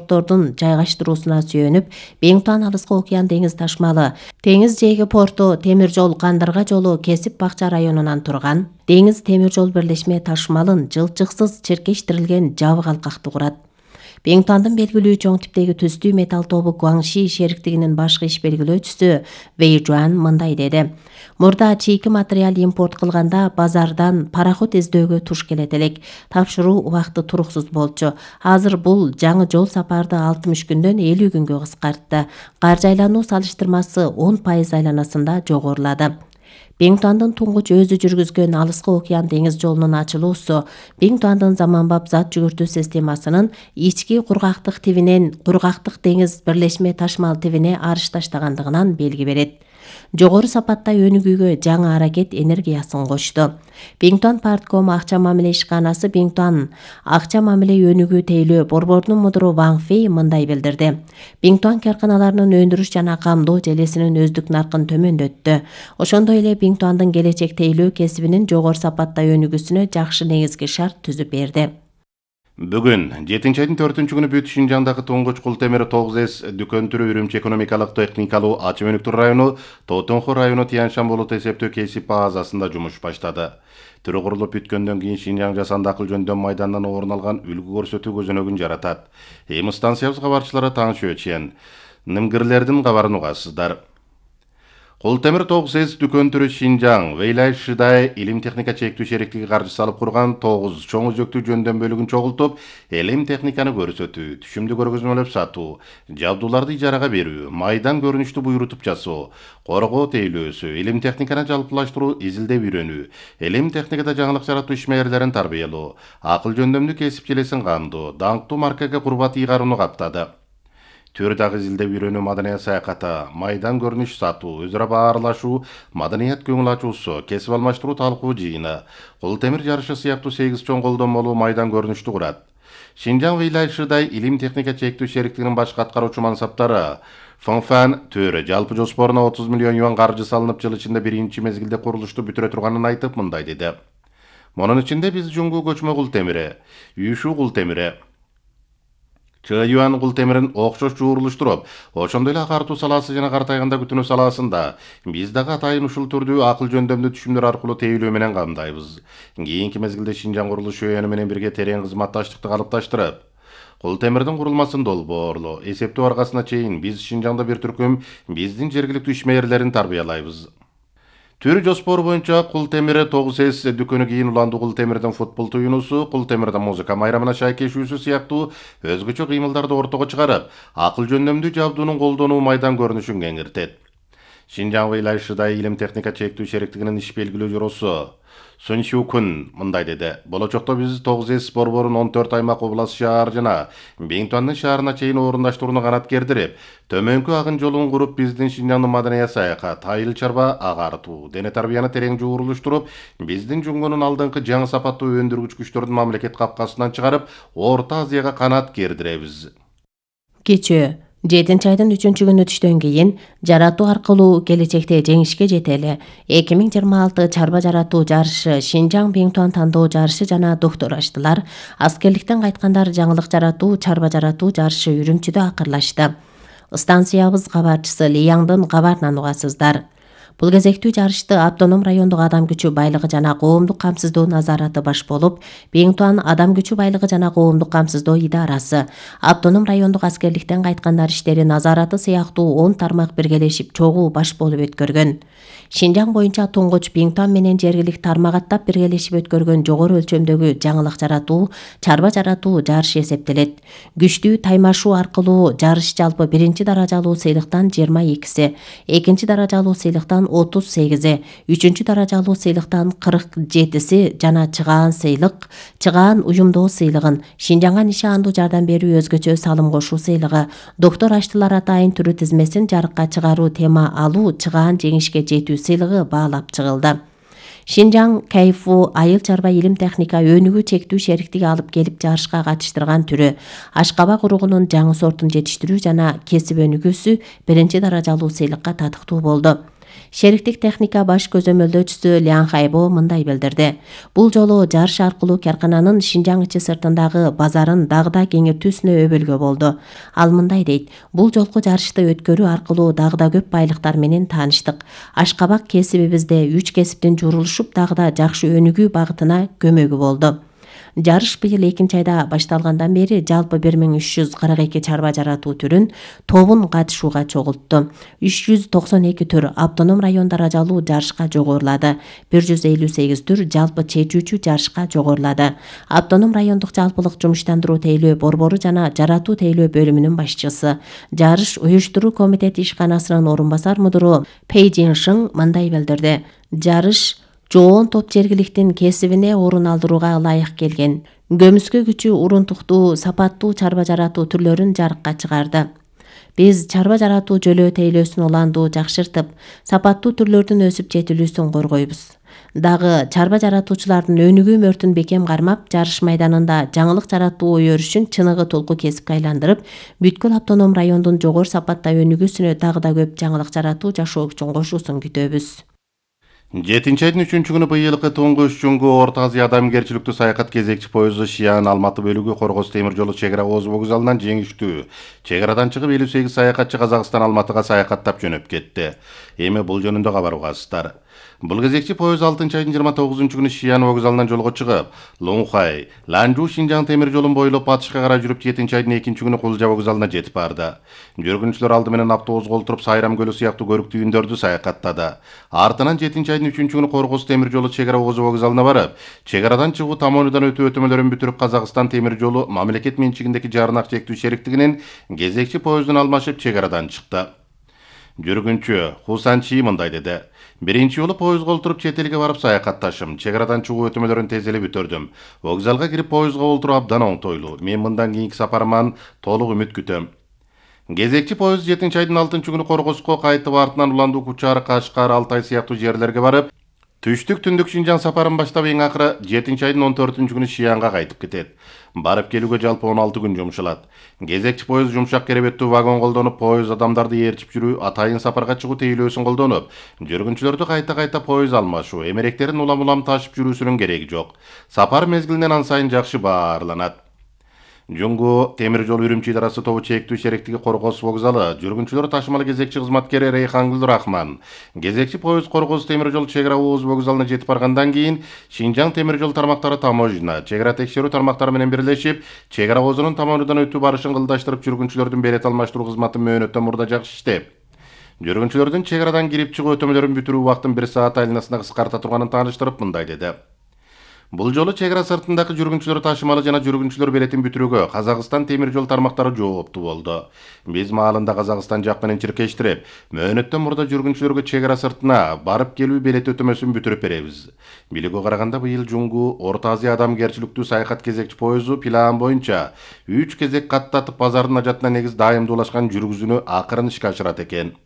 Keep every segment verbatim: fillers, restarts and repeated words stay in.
порттордун жайгаштыруусуна сүйөнүп, Бингтуан Алыскы океан деңиз ташмалы Теңиз жээги порту темир жол Кандырга жолу Кесип Бакча районунан турган Деңиз темир жол бирлешме ташмалын жылчыксыз чиркештирилген жабык алкакты курат. Бингтуандын белгилүү чоң типтеги түстүү металл тобу Гуаңши шериктигинин башкы иш белгилөөчүсү Вэй Жуан мындай деди. Мурда чийки материал импорт кылганда базардан пароход издөөгө туш келет элек. Тапшыруу убакты туруксуз болчу. Азыр бул жаңы жол сапарды алтымыш күндөн элүү күнгө кыскартты. Каржы айлануу салыштырмасы он пайыз айланасында жогорулады. Бингтуандын туңгуч өзү жүргүзгөн Алыскы океан деңиз жолунун ачылуусу Бингтуандын заманбап зат жүгүртүү системасынын ички кургактык тибинен кургактык деңиз бирлешме ташмал тибине арыш таштагандыгынан белги берет. Жогору сапатта өнүгүүгө жаңы аракет энергиясын кошту. Бингтуан Партком акча мамиле ишканасы Бингтуан акча мамиле өнүгүү тейлөө борборунун мудуру Ван Фэй мындай билдирди. Бингтуан карканаларынын өндүрүш жана камдоо желесинин өздүк наркын төмөндөттү. Ошондой эле Бингтуандын келечек тейлөө кесибинин жогору сапатта өнүгүүсүнө жакшы негизги шарт түзүп берди. Бүгүн жетинчи айдын төртүнчү күнү бүт Шинжаңдагы туңгуч кул темир тогуз эс дүкөн түрү Үрүмчү экономикалык техникалуу ачып өнүктүрүү району Тотонхо району Тяньшан болот эсептөө кесип базасында жумуш баштады. Түрү курулуп бүткөндөн кийин Шинжаң жасанды акыл жөндөм майданынан орун алган үлгү көрсөтүү көзөнөгүн жаратат. Эми станциябыз кабарчылары таңчы өчен нимгирлердин кабарын угасыздар. Кул темир тогуз эс дүкөн түрү Шинжаң Вэйлай Шидай илим техника чектүү шериктиги каржысы алып курган тогуз чоң өзөктүү жөндөм бөлүгүн чогултуп, илим техниканы көрсөтүү, түшүмдү көргөзмөлөп сатуу, жабдууларды ижарага берүү, майдан көрүнүштү буйрутуп жасоо, коргоо тейлөөсү, илим техниканы жалпылаштыруу, изилдеп үйрөнүү, илим техникада жаңылык жаратуу ишмерлерин тарбиялоо, акыл жөндөмдүү кесип желесин камдоо, даңктуу маркага курбат ыйгарууну каптады. Төр дагы изилдеп үйрөнүү, маданият саякаты, майдан көрүнүш сатуу, өзара баарлашуу, маданият көңүл ачуусу, кесип алмаштыруу талкуу жыйыны, кул темир жарышы сыяктуу сегиз чоң колдонмолуу майдан көрүнүштү курат. Шинжаң Вэйлай Шидай илим техника чектүү шериктигинин баш каткаруучу мансаптары Фонфан Төрө жалпы жоспоруна отуз миллион юан каржы салынып, жыл ичинде биринчи мезгилде курулушту бүтүрө турганын айтып мындай деди. Мунун ичинде биз жуңгу көчмө кул темири, үйшүү кул темири, Чыюан кул темирин окшош жуурулуштуруп, ошондой эле агартуу салаасы жана картайганда күтүнүү салаасында биз дагы атайын ушул түрдүү акыл жөндөмдүү түшүмдөр аркылуу тейлөө менен камдайбыз. Кийинки мезгилде Шинжаң курулуш өөнү менен бирге терең кызматташтыкты калыпташтырып, кул темирдин курулмасын долбоорлоо, эсептөө аркасына чейин биз Шинжаңда бир түркүм биздин жергиликтүү ишмерлерин тарбиялайбыз. Түрү жоспору боюнча кул темири тогуз эс дүкөнү кийин уландуу кул темирдин футбол туюнусу, кул темирдин музыка майрамына шайкешүүсү сыяктуу өзгөчө кыймылдарды ортого чыгарып, акыл жөндөмдүү жабдуунун колдонуу майдан көрүнүшүн кеңиртет. Шинжаң Вэйлай Шидай илим техника чектүү шериктигинин иш белгилөө жоросу Сун Сю Кун мындай деди. Болочокто биз тогуз эс борборун он төрт аймак, область, шаар жана Бингтуандын шаарына чейин орундаштырууну канаткердирип, төмөнкү агын жолун куруп, биздин Шинжаңдын маданият саякат, айыл чарба агартуу, дене тарбияны терең жуурулуштуруп, биздин жуңгунун алдыңкы жаңы сапаттуу өндүргүч күчтөрдүн мамлекет капкасынан чыгарып, Орто Азияга канат кердиребиз. Кечээ жетинчи айдын үчүнчү күнү түштөн кийин жаратуу аркылуу келечекте жеңишке жетели эки миң жыйырма алты чарба жаратуу жарышы, Шинжаң Бингтуан тандоо жарышы жана доктор аштылар, аскерликтен кайткандар жаңылык жаратуу, чарба жаратуу жарышы Үрүмчүдө акырлашты. Станциябыз кабарчысы Лияңдын кабарынан угасыздар. Бул кезектүү жарышты автоном райондук адам күчү байлыгы жана коомдук камсыздоо назараты баш болуп, Бингтуан адам күчү байлыгы жана коомдук камсыздоо идарасы, автоном райондук аскерликтен кайткандар иштери назараты сыяктуу он тармак биргелешип чогуу баш болуп өткөргөн. Шинжаң боюнча туңгуч Бингтуан менен жергилик тармагаттап биргелешип өткөргөн жогору өлчөмдөгү жаңылык жаратуу, чарба жаратуу жарышы эсептелет. Күчтүү таймашуу аркылуу жарыш жалпы биринчи даражалуу сыйлыктан жыйырма экиси, экинчи даражалуу сыйлыктан отуз сегизи, үчүнчү даражалуу сыйлыктан кырк жетиси жана чыгаан сыйлык, чыгаан уюмдоо сыйлыгын, Шинжаңга нишандуу жардам берүү өзгөчө салым кошуу сыйлыгы, доктор аштылар атайын түрү тизмесин жарыкка чыгаруу тема алуу, чыгаан жеңишке жетүү сыйлыгы баалап чыгылды. Шинжаң Кайфу айыл чарба илим техника өнүгүү чектүү шериктиги алып келип жарышка катыштырган түрү ашкабак уругунун жаңы сортун жетиштирүү жана кесип өнүгүүсү биринчи даражалуу сыйлыкка татыктуу болду. Шериктик техника баш көзөмөлдөөчүсү Лян Хайбо мындай билдирди. Бул жолу жарыш аркылуу каркананын Шинжаң ичи сыртындагы базарын дагы да кеңейтүүсүнө өбөлгө болду. Ал мындай дейт: бул жолку жарышты өткөрүү аркылуу дагы да көп байлыктар менен тааныштык. Ашкабак кесибибизде үч кесиптин журулушуп дагы да жакшы өнүгүү багытына көмөгү болду. Жарыш быйыл экинчи айда башталгандан бери жалпы бир миң үч жүз кырк эки чарба жаратуу түрүн тобун катышууга чогултту. үч жүз токсон эки түр автоном район даражалуу жарышка жогорулады. бир жүз элүү сегиз түр жалпы чечүүчү жарышка жогорулады. Автоном райондук жалпылык жумуштандыруу тейлөө борбору жана жаратуу тейлөө бөлүмүнүн башчысы, жарыш уюштуруу комитети ишканасынын орун басар мудуру Пэй Жиншиң мындай билдирди: жарыш жоон топ жергиликтин кесибине орун алдырууга ылайык келген. Көмүскө күчү урунтуктуу, сапаттуу чарба жаратуу түрлөрүн жарыкка чыгарды. Биз чарба жаратуу жөлөө тейлөөсүн уландуу жакшыртып, сапаттуу түрлөрдүн өсүп жетилүүсүн коргойбуз. Дагы чарба жаратуучулардын өнүгүү мөртүн бекем кармап, жарыш майданында жаңылык жаратуу өрүшүн чыныгы толку кесипке айландырып, бүткүл автоном райондун жогору сапатта өнүгүүсүнө дагы да көп жаңылык жаратуу жашоо үчүн кошуусун күтөбүз. жетинчи айдын үчүнчү күнү быйылкы туңгуч Жуңгу Орто Азия адамгерчиликтүү саякат кезекчи поезду Шиан Алматы бөлүгү Коргоз темир жолу чек ара ооз вокзалынан жеңиштүү чек арадан чыгып элүү сегиз саякатчы Казакстан Алматыга саякаттап жөнөп кетти. Эми бул жөнүндө кабар угасыздар. Бул кезекчи поезд алтынчы айдын жыйырма тогузунчу күнү Шиан вокзалынан жолго чыгып, Лунхай, Ланжу Шинжаң темир жолун бойлоп батышка карай жүрүп жетинчи айдын экинчи күнү Кулжа вокзалына жетип барды. Жүргүнчүлөр алды менен автобусга олтуруп Сайрам көлү сыяктуу көрүктүү үндөрдү саякаттады. Артынан жетинчи айдын үчүнчү күнү Коргоз темир жолу чек ара ооз вокзалына барып, чек арадан чыгуу тамонудан өтүү өтөмөлөрүн бүтүрүп Казакстан темир жолу мамлекет менчигиндеки жарнак чектүү шериктигинин кезекчи поездун алмашып чек арадан чыкты. Жүргүнчү Хусан Чи мындай деди: биринчи жолу поездга олтуруп чет элге барып саякатташым, чек арадан чыгуу өтөмөлөрүн тез эле бүтүрдүм. Вокзалга кирип поездга олтуруу абдан оңтойлуу. Мен мындан кийинки сапарыман толук үмүт күтөм. Кезекчи поезд жетинчи айдын алтынчы күнү Коргозго кайтып, артынан Уландуу, Кучар, Кашкар, Алтай сыяктуу жерлерге барып, түштүк түндүк Шинжаң сапарын баштап, эң акыры жетинчи айдын он төртүнчү күнү Шиянга кайтып кетет. Барып келүүгө жалпы он алты күн жумшалат. Кезекчи поезд жумшак керебеттүү вагон колдонуп, поезд адамдарды ээрчип жүрүү, атайын сапарга чыгуу тейлөөсүн колдонуп, жүргүнчүлөрдү кайта-кайта поезд алмашуу, эмеректерин улам-улам ташып жүрүүсүнүн кереги жок. Сапар мезгилинен ан сайын жакшы баарланат. Жуңгу темир жол Үрүмчи идарасы тобу чектүү шериктиги Коргоз вокзалы, жүргүнчүлөр ташымалы кезекчи кызматкери Рейхангүл Рахман. Кезекчи поезд Коргоз темир жол чек ара ооз вокзалына жетип баргандан кийин Шинжаң темир жол тармактары таможня, чек ара текшерүү тармактары менен бирлешип, чек ара оозунун тамонудан өтүү барышын кылдаштырып, жүргүнчүлөрдүн билет алмаштыруу кызматын мөөнөттөн мурда жакшы иштеп, жүргүнчүлөрдүн чек арадан кирип чыгуу өтөмөлөрүн бүтүрүү убактын бир саат айланасына кыскарта турганын тааныштырып мындай деди: бул жолу чек ара сыртындагы жүргүнчүлөр ташымалы жана жүргүнчүлөр билетин бүтүрүүгө Казакстан темир жол тармактары жооптуу болду. Биз маалында Казакстан жак менен чиркештирип, мөөнөттөн мурда жүргүнчүлөргө чек ара сыртына барып келүү билет өтөмөсүн бүтүрүп беребиз. Билүүгө караганда быйыл Жуңгу Орто Азия адамгерчиликтүү саякат кезекчи поезду план боюнча үч кезек каттатып базардын ажатына негиз дайымдуулашкан жүргүзүүнү акырын ишке ашырат экен.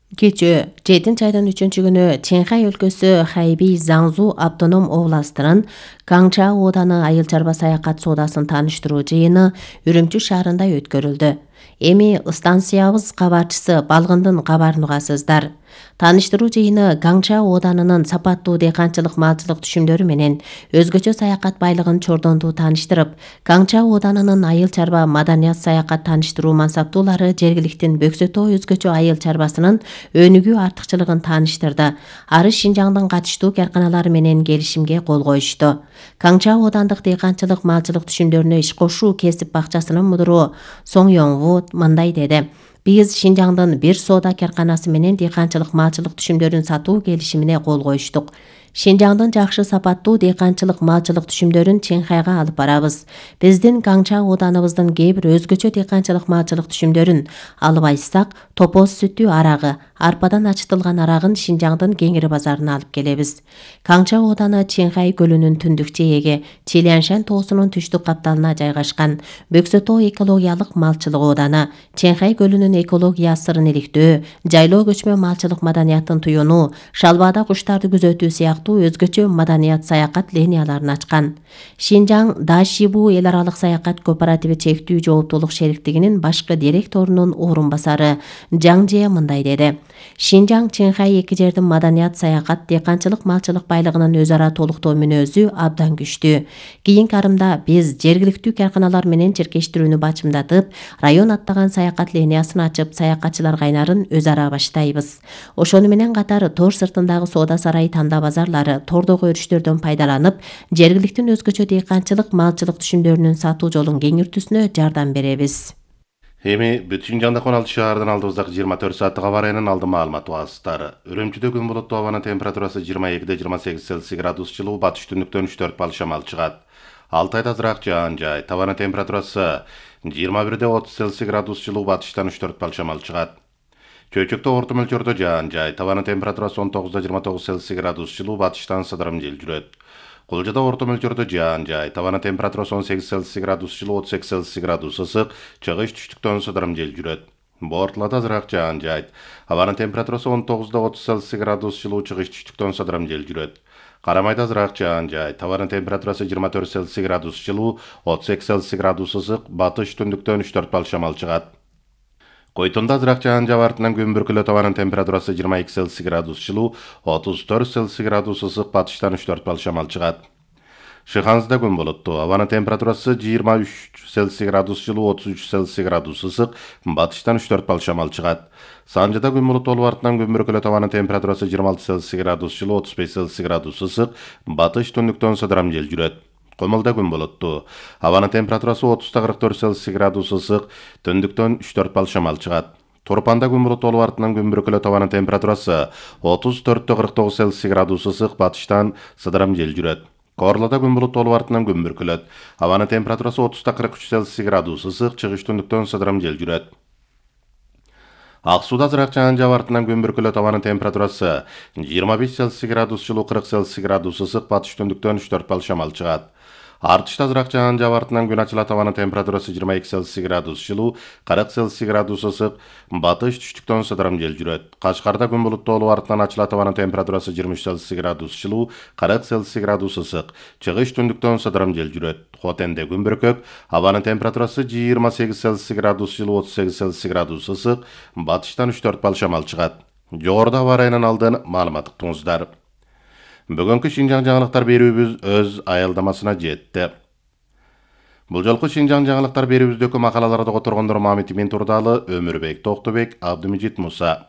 Кечээ жетинчи айдын үчүнчү күнү Чэнхай өлкөсү Хайби Заңзу автоном областынын Каңча ооданы айыл чарба саякат соодасын тааныштыруу жыйыны Үрүмчү шаарында өткөрүлдү. Эми станциябыз кабарчысы Балгындын кабарын угасыздар. Тааныштыруу жыйыны Каңча ооданынын сапаттуу дыйканчылык малчылык түшүмдөрү менен өзгөчө саякат байлыгын чордондуу тааныштырып, Каңча ооданынын айыл чарба маданият саякат тааныштыруу мансаптуулары жергиликтин Бөксөтөө өзгөчө айыл чарбасынын өнүгүү артыкчылыгын тааныштырды. Ары Шинжаңдын катыштуу карканалары менен келишимге кол коюшту. Каңча оодандык дыйканчылык малчылык түшүмдөрүнө иш кошуу кесип бакчасынын мудуру Соң Йоңву мындай деди: биз Шинжаңдын бир соода карканасы менен дыйканчылык малчылык түшүмдөрүн сатуу келишимине кол коюштук. Шинжаңдын жакшы сапаттуу дыйканчылык малчылык түшүмдөрүн Чэнхайга алып барабыз. Биздин Каңча ооданыбыздын кээ бир өзгөчө дыйканчылык малчылык түшүмдөрүн алып айтсак, топоз сүтү арагы, арпадан ачытылган арагын Шинжаңдын Кеңири базарына алып келебиз. Каңча ооданы Чэнхай көлүнүн түндүк жээги, Чиляншан тоосунун түштүк капталына жайгашкан Бөксөтөө экологиялык малчылык ооданы, Чэнхай көлүнүн экология сырын иликтөө, жайлоо көчмө малчылык маданиятын туюнуу, шалбаада куштарды күзөтүү сыяктуу сыяктуу өзгөчө маданият саякат линияларын ачкан. Шинжаң Дашибу эл аралык саякат кооперативи чектүү жооптуулук шериктигинин башкы директорунун орун басары Жаң Же мындай деди. Шинжаң Чинхай эки жердин маданият саякат, дыйканчылык, малчылык байлыгынын өз ара толуктоо мүнөзү абдан күчтүү. Кийинки арымда биз жергиликтүү карканалар менен чиркештирүүнү бачымдатып, район аттаган саякат линиясын ачып, саякатчылар кайнарын өз ара баштайбыз. Ошону менен катар тор сыртындагы соода сарай, танда базарлары, тордогу өрүштөрдөн пайдаланып, жергиликтин өзгөчө дыйканчылык, малчылык түшүмдөрүнүн сатуу жолун кеңиртүүсүнө жардам беребиз. Эми бүт Шинжаңдагы он алты шаардын алдыбыздагы жыйырма төрт сааттык аба ырайынын алдын маалыматы басыстары. Үрүмчүдө күн булуттуу, абанын температурасы жыйырма экиде жыйырма сегиз Цельсий градус жылуу, батыш түндүктөн үч төрт балл шамал чыгат. Алтайда азыраак жаан жай, табанын температурасы жыйырма бирде отуз Цельсий градус жылуу, батыштан үч төрт балл шамал чыгат. Чөйчөктө орто мөлчөрдө жаан жай, табанын температурасы он тогузда жыйырма тогуз Цельсий градус жылуу, батыштан сыдырым жел жүрөт. Кулжада орто мөлчөрдө жаан жай, табанын температурасы он сегиз Цельсий градус жылуу, отуз эки Цельсий градус ысык, чыгыш түштүктөн сыдырым жел жүрөт. Бортулада азыраак жаан жай, абанын температурасы он тогузда отуз Цельсий градус жылуу, чыгыш түштүктөн сыдырым жел жүрөт. Карамайда азыраак жаан жай, табанын температурасы жыйырма төрт Цельсий градус жылуу, отуз эки Цельсий градус ысык, батыш түндүктөн үч төрт балл шамал чыгат. Койтонда азыраак жаан жаап, артынан күн бүркүлөт, абанын температурасы жыйырма эки Цельсий градус жылуу, отуз төрт Цельсий градус ысык, батыштан үч төрт балл шамал чыгат. Шыханызда күн болуттуу, абанын температурасы жыйырма үч Цельсий градус жылуу, отуз үч Цельсий градус ысык, батыштан үч төрт балл шамал чыгат. Санжыда күн болуттуу болуп, артынан күн бүркүлөт, абанын температурасы жыйырма алты Цельсий градус жылуу, отуз беш Цельсий градус ысык, батыш түндүктөн сыдырым жел жүрөт. Комолдо күн болуттуу, абанын температурасы отузда кырк төрт Цельсий градус ысык, түндүктөн үч төрт балл шамал чыгат. Турпанда күн болуттуу болуп, артынан күн бүркүлөт, абанын температурасы отуз төрттө кырк тогуз Цельсий градус ысык, батыштан сыдырым жел жүрөт. Корлоодо күн булуттуу болуп, артынан күн бүркүлөт, абанын температурасы отузда кырк үч Цельсий градус ысык, чыгыш түндүктөн сыдырым жел жүрөт. Ак сууда азыраак жаан жаап, артынан күн бүркүлөт, абанын температурасы жыйырма беш Цельсий градус жылуу, кырк Цельсий градус ысык, батыш түндүктөн үч төрт балл шамал чыгат. Артышта азыраак жаан жаап, артынан күн ачылат, абанын температурасы жыйырма эки Цельсий градус жылуу, кырк Цельсий градус ысык, батыш түштүктөн сыдырым жел жүрөт. Кашкарда күн булуттуу болуп, артынан ачылат, абанын температурасы жыйырма үч Цельсий градус жылуу, кырк Цельсий градус ысык, чыгыш түндүктөн сыдырым жел жүрөт. Хотенде күн бүркөк, абанын температурасы жыйырма сегиз Цельсий градус жылуу, отуз сегиз Цельсий градус ысык, батыштан үч төрт балл шамал чыгат. Жогоруда аба ырайынын алдын маалымат уктуңуздар. Бүгүнкү Шинжаң жаңылыктар берүүбүз өз аялдамасына жетти. Бул жолку Шинжаң жаңылыктар берүүбүздөгү макалаларды которгондор Мамит Имин Турдалы, Өмүрбек Токтобек, Абдымежит Муса.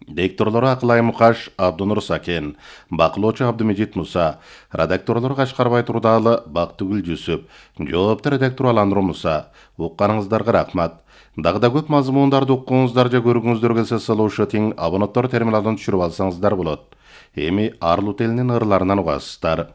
Дикторлору Акылай Мукаш, Абдунур Сакен, бакылоочу Абдымежит Муса, редакторлору Кашкарбай Турдалы, Бактыгүл Жүсүп, жоопту редактор Аланур Муса. Укканыңыздарга рахмат. Дагы да көп мазмундарды уккуңуздар же көргүңүздөр келсе, слушатин, абонаттар терминалдан түшүрүп алсаңыздар болот. Эми Арлут элинин ырларынан угасыздар.